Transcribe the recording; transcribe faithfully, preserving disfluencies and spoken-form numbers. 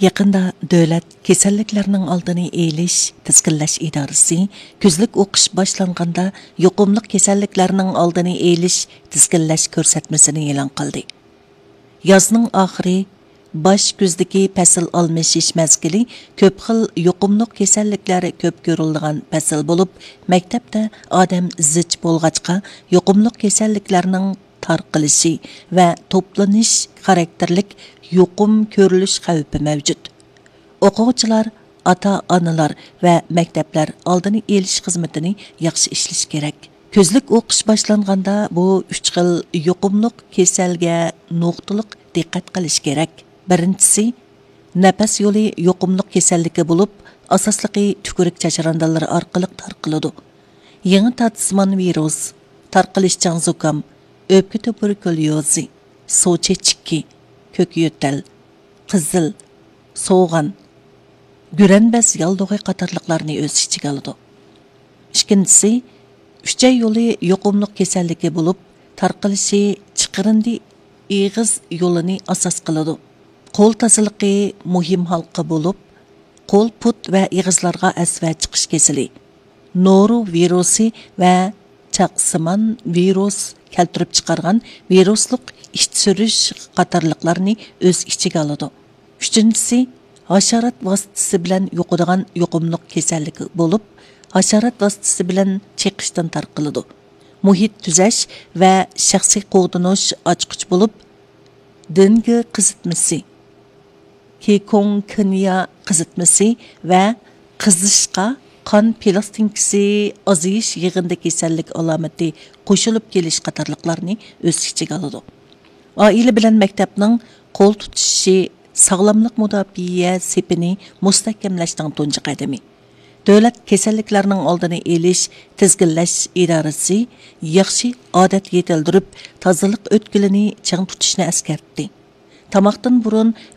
يېقىندا دۆلەت كېسەللىكلەرنىڭ ئالدىنى ئېلىش، تىزگىنلەش ئىدارىسى كۈزلۈك ئوقۇش باشلانغاندا يۇقۇملۇق كېسەللىكلەرنىڭ ئالدىنى ئېلىش، تىزگىنلەش كۆرسەتمىسىنى ئېلان قىلدى. يازنىڭ ئاخىرى، باش كۈزدىكى پەسىل ئالمىشىش مەزگىلى كۆپ خىل يۇقۇملۇق كېسەللىكلەر كۆپ كۆرۈلىدىغان پەسىل بولۇپ، مەكتەپتە ئادەم زىچ بولغاچقا، يۇقۇملۇق كېسەللىكلەرنىڭ تارقىلىشى ۋە توپلىنىش خاراكتېرلىك يۇقۇم كۆرۈلۈش خەۋپى مەۋجۇت. ئوقۇغۇچىلار، ئاتا-ئانىلار ۋە مەكتەپلەر ئالدىنى ئېلىش خىزمىتىنى ياخشى ئىشلىشى كېرەك. كۈزلۈك ئوقۇش باشلانغاندا بۇ ئۈچ خىل يۇقۇملۇق كېسەلگە نۇقتىلىق دىققەت قىلىش كېرەك. بىرىنچىسى، نەپەس يولى يۇقۇملۇق كېسەللىكى بولۇپ، ئاساسلىقى تۈكۈرۈك چاچراندالىرى ئارقىلىق تارقىلىدۇ. يېڭى تارتىسىمان ۋىرۇس، تارقىلىشچان زۇكام، ئۆپكە تۇبېركۇليوزى، سۇ چېچىكى، كۆك يۆتەل، قىزىل، سوغان، گۈرەنبەز ياللۇغى قاتارلىقلارنى ئۆز ئىچىگە ئالىدۇ. ئىككىنچىسى، ئۈچەي يولى يۇقۇملۇق كېسەللىكى بولۇپ، تارقىلىشى چىقىرىندى ئېغىز يولىنى ئاساس قىلىدۇ. قول تازىلىقى مۇھىم ھالقا بولۇپ، قول، پۇت ۋە ئېغىزلارغا ئەسۋە چىقىش كېسىلى، نورۇ ۋىرۇسى ۋە چاقسىمان ۋىرۇس كەلتۈرۈپ چىقارغان ۋىرۇسلۇق ئىچ سۈرۈش قاتارلىقلارنى ئۆز ئىچىگە ئالىدۇ. ئۈچىنچىسى، ھاشارات ۋاسىتىسى بىلەن يۇقىدىغان يۇقۇملۇق كېسەللىك بولۇپ، ھاشارات ۋاسىتىسى بىلەن چېقىشتىن تارقىلىدۇ. مۇھىت تۈزەش ۋە شەخسىي قوغدىنىش ئاچقۇچ بولۇپ، دېنگى قىزىتمىسى، كىكۇڭكۇنيا قىزىتمىسى ۋە قىزىشقا، قان پىلاستىنكىسى ئازىيىش يىغىندى كېسەللىك ئالامىتى قوشۇلۇپ كېلىش قاتارلىقلارنى ئۆز ئىچىگە ئالىدۇ. ئائىلە بىلەن مەكتەپنىڭ قول تۇتۇشۇشى ساغلاملىق مۇداپىئە سېپىنى مۇستەھكەملەشنىڭ تۇنجى قەدىمى. دۆلەت كېسەللىكلەرنىڭ ئالدىنى ئېلىش، تىزگىنلەش ئىدارىسى ياخشى ئادەت يېتىلدۈرۈپ، تازىلىق ئۆتكىلىنى چىڭ تۇتۇشنى ئەسكەرتتى. تاماقتىن بۇرۇن